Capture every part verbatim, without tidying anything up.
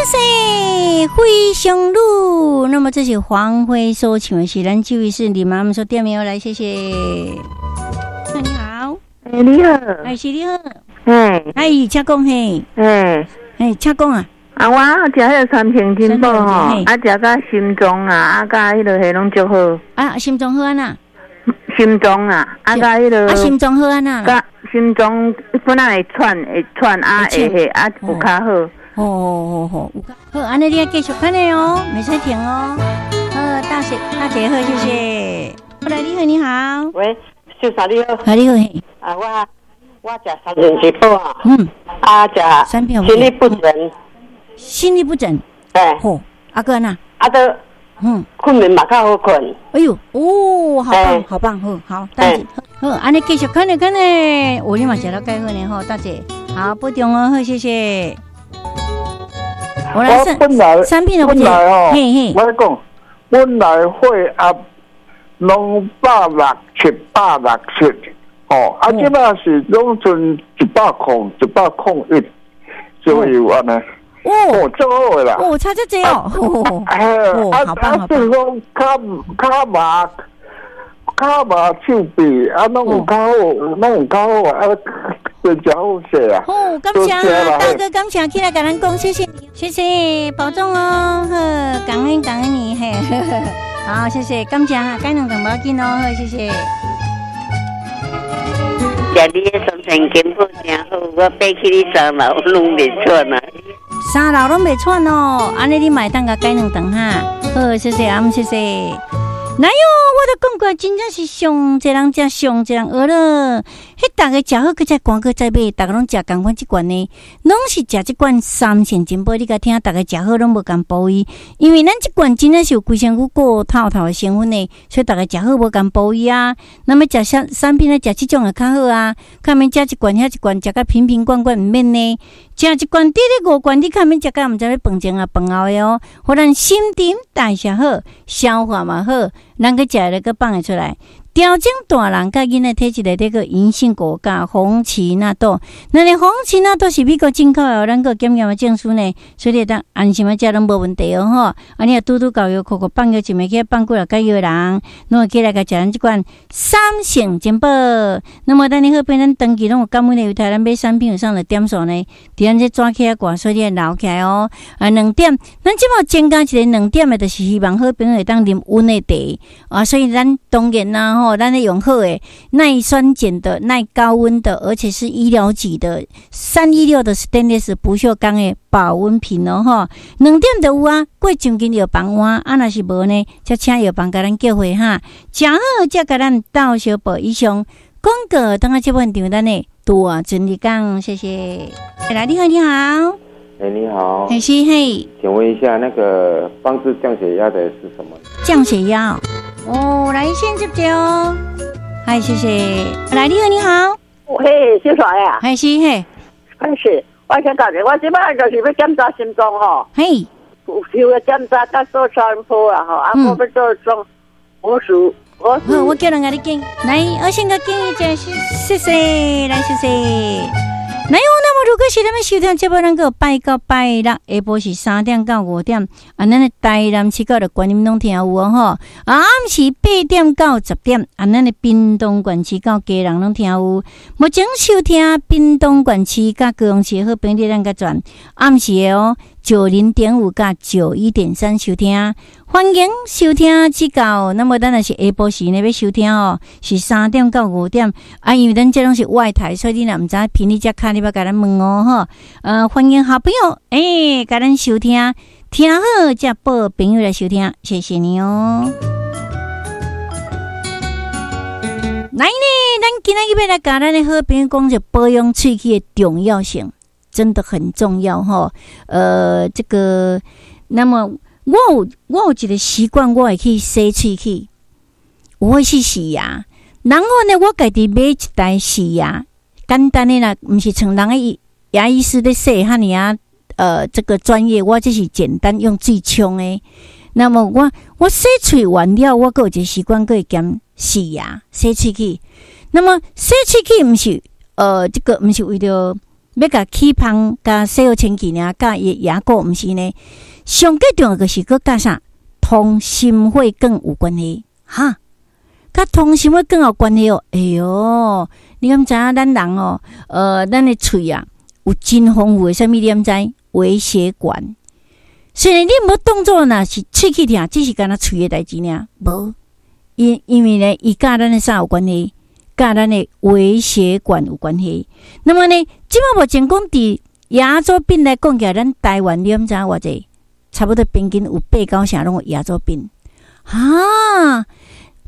謝謝灰熊路。那麼這是黃輝所唱的是咱這位是李媽媽說店沒有來，謝謝。你好，欸，你好，哎，是你好，嘿，哎，請講嘿，嘿，嘿，請講啊。啊，我食彼個三星珍寶吼，啊，食甲心臟啊，啊，佮彼个彼攏足好。啊，心臟好按怎？心臟啊，啊，佮彼个。啊，心臟好按怎？佮心臟本來會喘會喘啊，會會啊，有較好。哦哦哦，有較好，按呢你愛繼續按呢哦，袂使停哦。好，大姐，大姐好，謝謝。來，你好，你好。喂，秀莎你好。啊，你好。啊，我我食三星珍寶啊。嗯。啊，食心律不整。心律不整。哎。好，啊閣按怎？啊，都。嗯。睏眠嘛較好睏。哎喲，哦，好棒，好棒，好，好，大姐，好，按呢繼續看咧，看咧，哦，你嘛食了蓋好呢，吼，大姐，好，保重哦，好，謝謝。我本來本來哦，我講本來血壓攏百六七、百六七，哦，啊，這擺是攏賰一百空、一百空一左右按呢。哦，足好的啦！哦，差這濟哦！哎，啊啊，就是講跤跤麻、跤麻手臂啊，攏有較好，攏有較好啊，變誠好勢啊！哦，感謝啊，大哥，感謝起來共咱講，謝謝，謝謝，保重哦，好，感恩感恩你，嘿，好，謝謝，感謝哈，改兩頓無要緊哦，好，謝謝。食你的三星珍寶誠好，我爬起去三樓攏袂喘啊。三樓攏袂喘哦，按呢你嘛會當共改兩頓哈。好，謝謝阿姆，謝謝。來喲，我都講過，真正是上濟人食，上濟人學了。彼逐家食好，閣再趕閣再買，逐家攏食仝款這罐呢，攏是食這罐三星珍寶。你共聽，逐家食好攏無仝部位，因為咱這罐真正是有規身軀顧透透的成分呢，所以逐家食好無仝部位啊。那麼食產產品咧，食這種會較好啊，較免食一罐遐一罐，食甲瓶瓶罐罐毋免呢。食一罐佇咧五罐，你較免食甲毋知欲飯前啊飯後的哦。予咱新陳代謝好，消化嘛好，咱閣食了閣放會出來。調整大人佮囡仔體質內底個銀杏果佮紅芪納豆，咱的紅芪納豆是美國進口的，咱閣檢驗的證書呢，所以你會當安心的食攏無問題哦吼。啊，你若拄拄到藥庫，放藥一暝去放幾若解藥的人，攏會起來共食咱這款三星珍寶。那麼咱的好朋友，咱長期攏有感恩的猶太，咱買產品有啥的點數呢？佇咱這紙起來掛，所以你愛留起來哦。啊，兩點，咱這擺增加一個兩點的，就是希望好朋友會當啉溫的茶啊，所以咱當然啦吼，咱咧用好的耐酸鹼的、耐高溫的，而且是醫療級的三一六的 stainless 不鏽鋼的保溫瓶哦吼。兩點就有啊，過將近藥房換，啊若是無呢，才請藥房共咱叫貨哈。食好才共咱鬥相報以上廣告，等下這份場咱的大陣日講，謝謝。來，你好，你好。哎，你好。嘿，是嘿。請問一下，那個幫助降血壓的是什麼？降血壓哦，來先接接哦。嗨，謝謝。來，你好，你好。嘿，小帥啊。嘿，是嘿。嘿是，我想講你，我這擺就是欲檢查心臟吼。嘿。有個檢查，佮做超音波啊吼，啊，我欲做裝，我是我好，我叫人共你揀。來，我先共建議一下，謝謝，來，謝謝。來哦，那麼如果是咱們收聽節目，咱閣拜到拜六下晡是三點到五點，啊，咱的台南市到的觀音攏聽有哦吼。啊，暗時八點到十點，啊，咱的屏東縣市到基隆攏聽有。目前收聽屏東縣市佮高雄市的好朋友，咱佮轉暗時的哦，九零點五佮九一點三收聽，歡迎收聽指教。那麼咱若是下晡時呢欲收聽哦，是三點到五點。啊，因為咱這攏是外台，所以你若毋知頻率遮卡，你欲共咱問哦吼。呃，歡迎好朋友，欸，共咱收聽，聽好才報朋友來收聽，謝謝你哦。來呢，咱今仔日欲來共咱的好朋友講著保養喙齒的重要性。真的很重要吼，呃，這個，那麼我有我有一個習慣，我會去洗喙齒，我會去洗牙，然後呢，我家己買一台洗牙，簡單的啦，毋是像人的牙醫師咧洗遐爾啊，呃，這個專業，我這是簡單用水沖的。那麼我我洗喙完了，我閣有一個習慣，閣會兼洗牙、洗喙齒。那麼洗喙齒毋是，呃，這個毋是為著。欲共起芳共洗好清氣爾，佮伊的牙膏毋是呢？上蓋重要就是閣佮啥？通心血管有關係，哈？佮通心血管有關係哦。哎喲，你敢知影咱人哦？呃，咱的喙啊，有真豐富的啥物？你敢知？微血管。雖然你無當做若是喙齒疼，只是干焦喙的代誌爾，無。因因為呢，伊佮咱的啥有關係？佮咱的微血管有關係。那麼呢，這馬目前講佇牙周病來講起來，咱台灣你敢知影偌濟？差不多平均有八九成攏有牙周病。哈，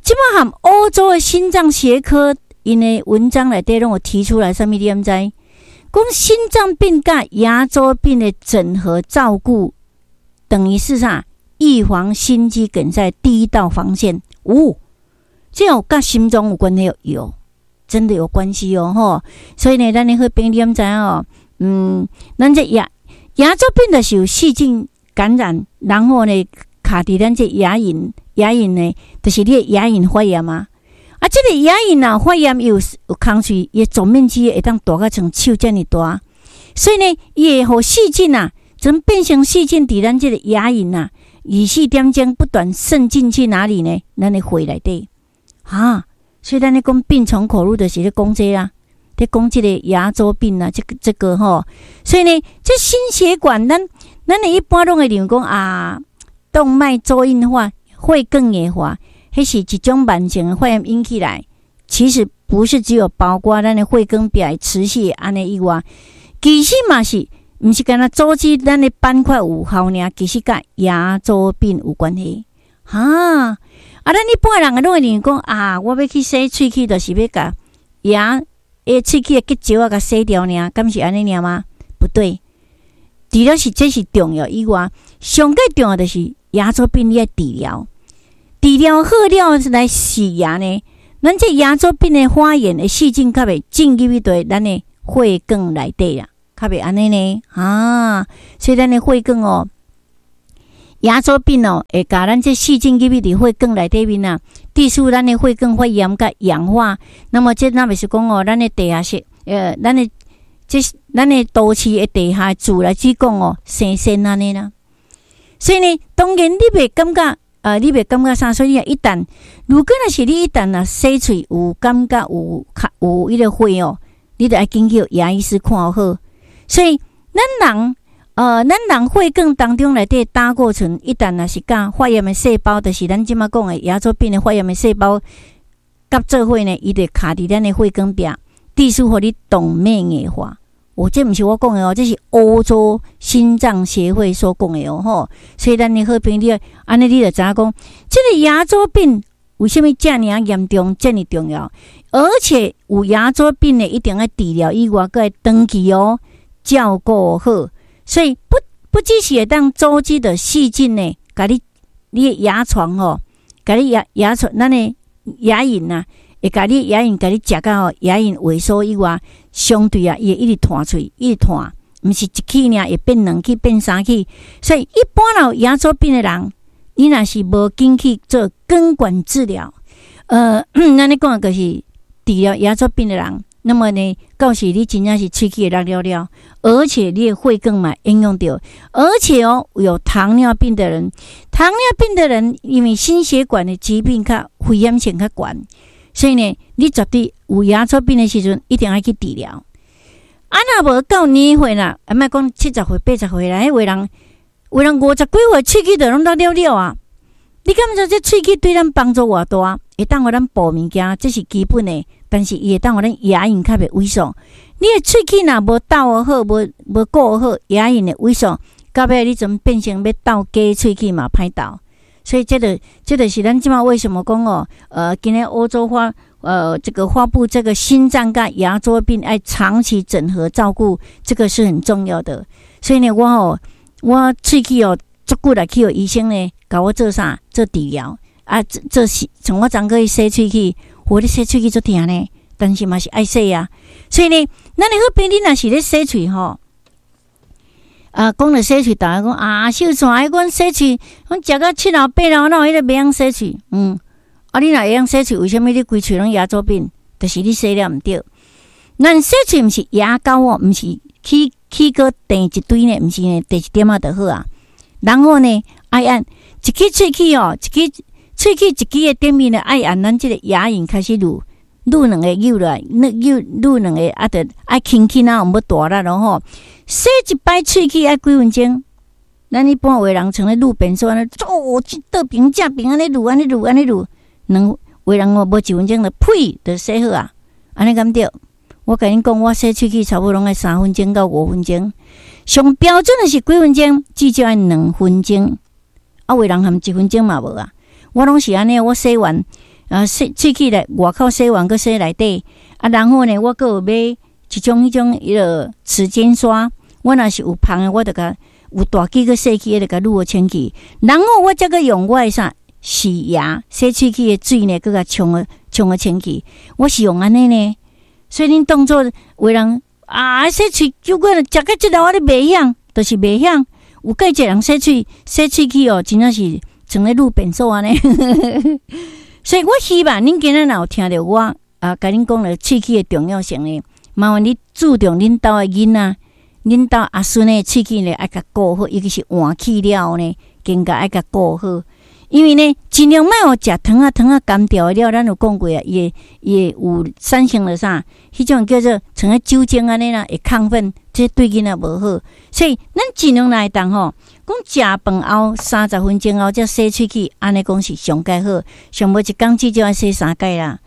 這馬含歐洲的心臟學科𪜶的文章內底攏有提出來，啥物你敢知？講心臟病佮牙周病的整合照顧，等於是啥？預防心肌梗塞第一道防線。哦，這有佮心臟有關係？有，真的有關係哦，吼。所以呢，咱的好朋友你敢知哦？嗯，咱這牙牙周病的是有細菌感染，然後呢，卡佇咱這牙齦，牙齦呢，就是你的牙齦發炎啊。啊，這個牙齦啊發炎有有空喙，伊的總面積會當大甲像手遮爾大，所以呢，伊會予細菌啊，怎變成細菌佇咱這個牙齦啊，二四點鐘不斷滲進去哪裡呢？咱的血內底，哈，所以咱咧講病從口入，就是咧講這啊，咧講這個牙周病啊，這個這個吼，所以呢，這心血管，咱咱的一般攏會認為講啊，動脈粥硬化、血管硬化，彼是一種慢性的發炎引起來，其實不是只有包括咱的血管壁持續按呢以外，其實嘛是，毋是干焦阻止咱的斑塊有效爾，其實佮牙周病有關係。哈，啊，咱一般人攏會認為講啊，我欲去洗喙齒，就是欲共牙的喙齒的結石仔共洗掉爾，敢是按呢爾嗎？不對，除了是這是重要以外，上蓋重要就是牙周病你愛治療，治療好了來洗牙呢，咱這牙周病的發炎的細菌較袂進入去佇咱的血管內底啦。較袂按呢呢啊，所以咱的血管哦，牙周病哦，會共咱這細菌入去佇血管內底面啊，致使咱的血管發炎佮氧化。那麼這若袂是講哦，咱的地下室，呃，咱的這咱的都市的地下自來水管哦，生鉎按呢啦。所以呢，當然你袂感覺，呃，你袂感覺啥？所以一旦如果若是你一旦若洗喙有感覺有較有彼個血哦，你著愛緊去牙醫師看好。所以，咱人，呃，咱人血管當中內底膽固醇，一旦若是佮發炎的細胞，就是咱這馬講的牙周病的發炎的細胞，佮做伙呢，伊就卡佇咱的血管壁，致使予你動脈硬化。哦，這毋是我講的哦，這是歐洲心臟協會所講的哦，吼。所以咱的好朋友，按呢你就知影講，這個牙周病為啥物遮爾嚴重、遮爾重要？而且有牙周病的，一定愛治療以外，閣愛長期哦。照顧好，所以不不只是會當阻止著細菌呢，共你你的牙床吼，共你牙牙床，咱的牙齦啊，會共你牙齦共你食甲吼牙齦萎縮以外，相對啊，伊會一直脫喙，一直脫，毋是一齒爾，會變兩齒，變三齒。所以一般有牙周病的人，你若是無緊去做根管治療，呃，咱咧講就是治療牙周病的人。那麼呢，到時你真正是喙齒會落了了，而且你的血管嘛影響著，而且哦，有糖尿病的人，糖尿病的人因為心血管的疾病較危險性較懸，所以呢，你絕對有牙周病的時陣，一定愛去治療。啊，若無到年歲啦，啊，莫講七十歲、八十歲啦，彼有的人，有的人五十幾歲，喙齒就攏落了了啊！你感覺這喙齒對咱幫助偌大？會當予咱補物件，這是基本的。但是伊會當予咱牙齦較袂萎縮。你的喙齒若無鬥好，無無顧好，牙齦會萎縮，到尾你陣變成欲鬥假喙齒嘛歹鬥。所以這個，這個是咱這馬為什麼講哦？呃，今仔歐洲發呃這個發布這個心臟佮牙周病愛長期整合照顧，這個是很重要的。所以呢，我哦，我喙齒哦，足久來去予醫生呢，共我做啥？做治療啊，做做洗，從我昨昏去洗喙齒。我咧洗喙齒足疼呢，但是嘛是愛洗啊。所以呢，咱的好朋友，你若是咧洗喙吼，啊，講著洗喙，逐家講啊，秀紲，阮洗喙，阮食到七老八老，哪有彼個袂曉洗喙？嗯，啊，你若會曉洗喙，為啥物你規喙攏牙周病？就是你洗了毋對。咱洗喙毋是牙膏哦，毋是起起閣甜一堆呢，毋是呢，甜一點仔就好啊。然後呢，愛按一支喙齒哦，一支喙齒一支的頂面呢，愛按咱這個牙齦開始滷滷兩个扭落來，扭滷兩个啊，著愛輕輕啊，毋欲大力囉吼。洗一擺喙齒愛幾分鐘？咱一般有的人像咧滷便所按呢，哦，倒爿正爿按呢滷，按呢滷，按呢滷，兩有的人哦，無一分鐘就呸，就洗好啊。按呢敢對？我共恁講，我洗喙齒差不多攏愛三分鐘到五分鐘。上標準的是幾分鐘？至少愛兩分鐘。啊，有的人含一分鐘嘛無啊。我攏是按呢，我洗完啊，洗喙齒咧，外口洗完，閣洗內底。啊，然後呢，我閣有買一種彼種彼个齒間刷。我若是有芳的，我就共有大支閣細支的，就共滷予清氣。然後我才閣用我的啥洗牙洗喙齒的水呢，閣共沖予沖予清氣。我是用按呢呢。所以恁當做有人啊，洗喙就過食甲這老我咧袂曉，就是袂曉。有蓋濟人洗喙洗喙齒哦，真正是像咧滷便所按呢。所以我希望恁今仔若有聽著我啊，共恁講著喙齒的重要性呢，麻煩你注重恁兜的囡仔，恁兜阿孫的喙齒呢，愛共顧好，尤其是換齒了後呢，更加愛共顧好。因為呢，盡量莫予食糖仔糖仔乾掉的了，咱有講過啊，伊會伊會有產生了啥？彼種叫做像咧酒精按呢啦，會亢奮，這對囡仔無好。所以咱盡量來當吼，講食飯後三十分鐘後才洗喙齒，按呢講是上蓋好。上無一工至少愛洗三擺啦，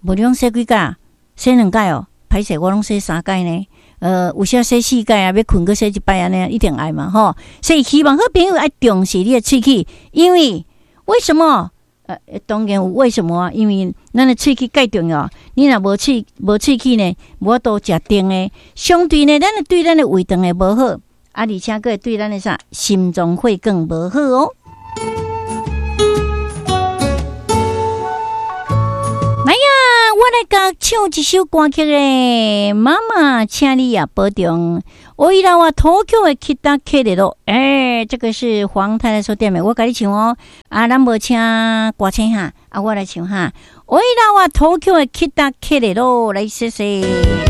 無你攏洗幾擺？洗兩擺哦，歹勢我攏洗三擺呢。呃，有時洗四擺啊，欲睏閣洗一擺按呢，一定愛嘛吼。所以希望好朋友愛重視你的喙齒，因為為什麼？呃，當然有為什麼啊？因為咱的喙齒蓋重要。你若無喙無喙齒呢，無法度食甜的。相對呢，咱的對咱的胃腸會無好，啊，而且閣會對咱的啥心臟血管無好哦。來呀，我來共唱一首歌曲咧。媽媽，請你也保重。我伊拉話東京的北克的咯，欸，這個是黃太太所點的，我共你唱哦。啊，咱無請歌星哈，啊，我來唱哈。我伊拉話東京的北克的咯，來謝謝。